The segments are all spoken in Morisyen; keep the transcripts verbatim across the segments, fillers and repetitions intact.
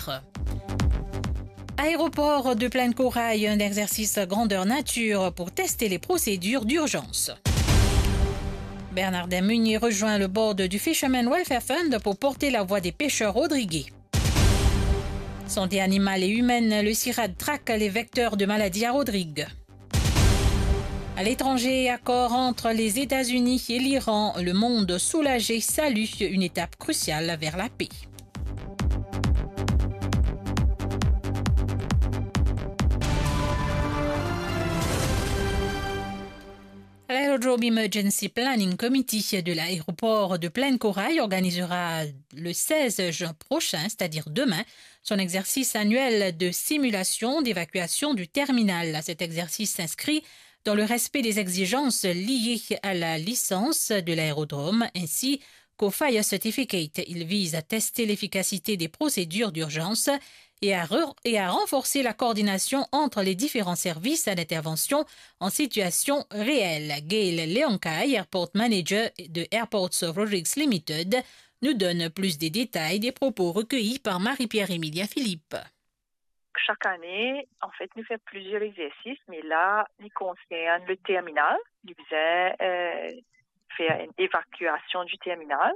quatre. Aéroport de Plaine Corail, un exercice grandeur nature pour tester les procédures d'urgence. Bernardin Meunier rejoint le board du Fishermen Welfare Fund pour porter la voix des pêcheurs rodriguais. Santé animale et humaine, le CIRAD traque les vecteurs de maladies à Rodrigues. À l'étranger, accord entre les États-Unis et l'Iran, le monde soulagé salue une étape cruciale vers la paix. L'Aérodrome Emergency Planning Committee de l'aéroport de Plaine Corail organisera le seize juin prochain, c'est-à-dire demain, son exercice annuel de simulation d'évacuation du terminal. Cet exercice s'inscrit dans le respect des exigences liées à la licence de l'aérodrome ainsi qu'au Fire Certificate. Il vise à tester l'efficacité des procédures d'urgence et à re-, et à renforcer la coordination entre les différents services d'intervention en situation réelle. Gail Leonkay, Airport Manager de Airports of Rodrigues Limited, nous donne plus de détails des propos recueillis par Marie-Pierre Emilia Philippe. Chaque année, en fait, nous faisons plusieurs exercices, mais là, ils concernent le terminal. Nous faisons, euh, faire une évacuation du terminal.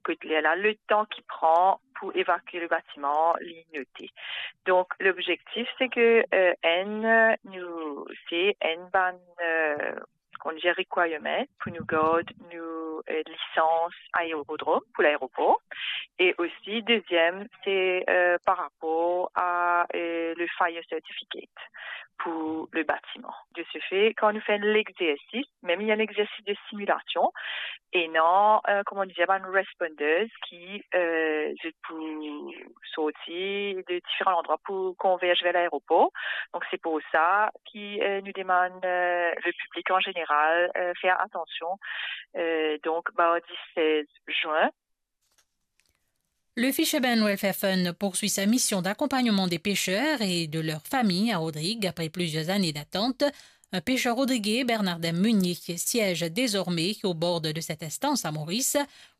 Kot ler la, le temps qu'il prend pour évacuer le bâtiment, li noté. Donc, l'objectif, c'est que, euh, enn, nou, c'est enn bann, euh, kouma dir, requirement pour nou gard nou, euh, licence aérodrome pour l'aéroport. Et aussi, deuxième, c'est, euh, par rapport à, euh, le fire certificate pour le bâtiment. De ce fait, quand nous faisons l'exercice, même il y a un exercice de simulation, et non, euh, comment dire, un responders qui, euh, je peux sortir de différents endroits pour converger vers l'aéroport. Donc, c'est pour ça qui, euh, nous demande, euh, le public en général, euh, faire attention. Euh, donc, mardi seize juin, Le Fishermen Welfare Fund poursuit sa mission d'accompagnement des pêcheurs et de leurs familles à Rodrigues après plusieurs années d'attente. Un pêcheur rodriguais, Bernardin Meunier, siège désormais au board de cette instance à Maurice.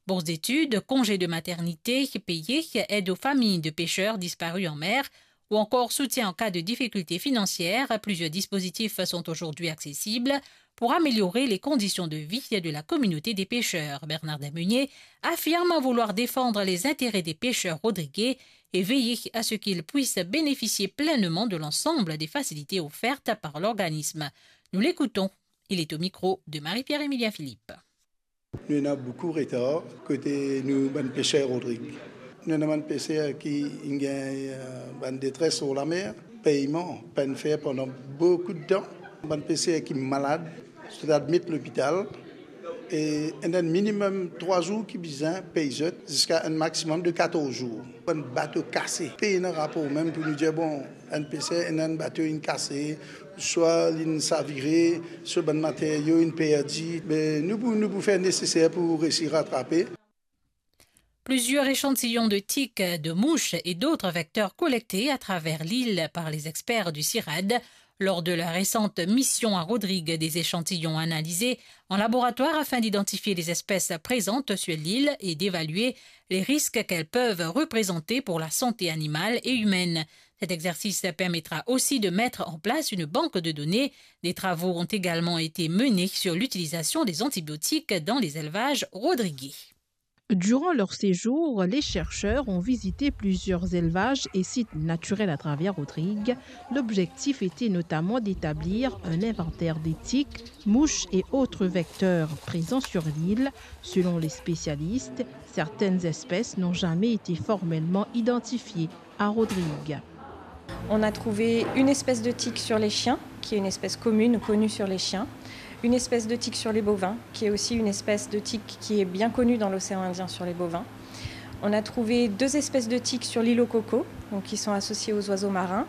Bourse d'études, congé de maternité payé, aide aux familles de pêcheurs disparus en mer ou encore soutien en cas de difficultés financières. Plusieurs dispositifs sont aujourd'hui accessibles pour améliorer les conditions de vie de la communauté des pêcheurs. Bernardin Meunier affirme vouloir défendre les intérêts des pêcheurs rodriguais et veiller à ce qu'ils puissent bénéficier pleinement de l'ensemble des facilités offertes par l'organisme. Nous l'écoutons. Il est au micro de Marie-Pierre Emilia Philippe. Nou ena boukou retar kote nou bann peser Rodrig. Nou ena bann peser ki inn gagn, eh, bann detres lor lamer, peyman pa'nn fer pandan boukou de tan. Bann peser ki malad, zot admit lopital, e ena minimem trwa zour ki bizin pey zot, ziska enn maximum de katorz zour. Bann bato kase, pena rapor mem pou nou dir, bon, enn peser, ena enn bato inn kase, swa linn savire, swa bann materio inn perdi, me nou pou, nou pou fer neseser pou resi ratrape. Plusieurs échantillons de tiques, de mouches et d'autres vecteurs collectés à travers l'île par les experts du CIRAD. Lors de la récente mission à Rodrigues, des échantillons analysés en laboratoire afin d'identifier les espèces présentes sur l'île et d'évaluer les risques qu'elles peuvent représenter pour la santé animale et humaine. Cet exercice permettra aussi de mettre en place une banque de données. Des travaux ont également été menés sur l'utilisation des antibiotiques dans les élevages rodriguais. Durant leur séjour, les chercheurs ont visité plusieurs élevages et sites naturels à travers Rodrigues. L'objectif était notamment d'établir un inventaire des tiques, mouches et autres vecteurs présents sur l'île. Selon les spécialistes, certaines espèces n'ont jamais été formellement identifiées à Rodrigues. On a trouvé une espèce de tique sur les chiens, qui est une espèce commune ou connue sur les chiens, une espèce de tique sur les bovins, qui est aussi une espèce de tique qui est bien connue dans l'océan Indien sur les bovins. On a trouvé deux espèces de tiques sur l'île aux cocos, donc qui sont associées aux oiseaux marins.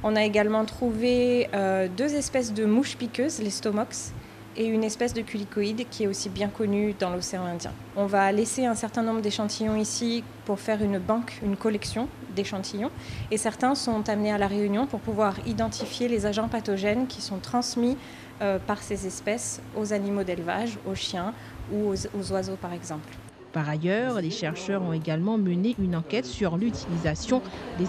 On a également trouvé, euh, deux espèces de mouches piqueuses, les stomox, et une espèce de culicoïde qui est aussi bien connue dans l'océan Indien. On va laisser un certain nombre d'échantillons ici pour faire une banque, une collection d'échantillons, et certains sont amenés à La Réunion pour pouvoir identifier les agents pathogènes qui sont transmis, euh, par ces espèces aux animaux d'élevage, aux chiens ou aux, aux oiseaux par exemple. Par ailleurs, les chercheurs ont également mené une enquête sur l'utilisation des